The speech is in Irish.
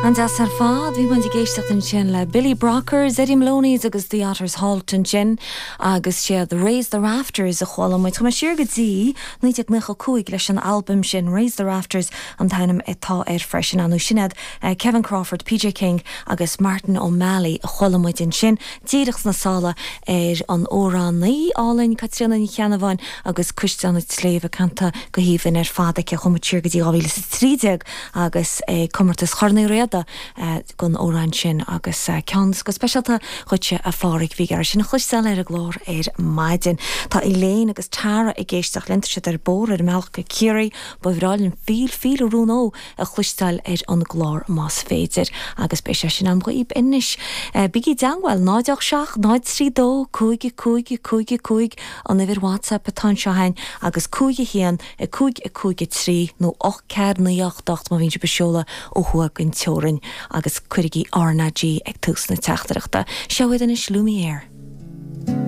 An-deas ar fad. Bhí muid ag éisteacht ansin le Billy Brockers, Eddie Maloney's agus The Otters Halt ansin agus siad Raise the Rafters a chuala muid. Chuaigh mé siar go dtí 1995 leis an albam sin, Raise the Rafters an t-ainm atá air freisin. Nó sin iad Kevin Crawford, PJ King agus Martin O'Malley a chuala muid ansin díreach sna sála ar an amhránaí álainn Caitríona Ní Cheannabháin agus Cuisleán an tSléibhe canta go haoibhinn ar fad aici. Chuaigh muid siar go dtí 2013 agus é Comórtas Chorn Uí Riada don amhrán sin agus ceann go speisialta dhuitse a Phádhraic bhí ag iarraidh sin a chloisteáil ar an gclár ar maidin. Tá Elaine agus Tara ag éisteacht linn, tá siad ar bóthar ar a mbealach go Ciarraí. Ba bhreá linn Feel Feel a Rún Ó a chloisteáil ar an gclár más féidir agus beidh sé sin agam dhaoib anois. Bígí i dteangmháil, 0 8 7 0 3 2 5 5 5 5 an uimhir WhatsApp atá anseo againn agus 5 1 5 5 3 nó 8 4 9 8 8 má bhíonn sibh ag seoladh ó thuaidh den teorainn agus cuirigí RnaG ag tús na teachtaireachta. Seo iad anois Lumiere.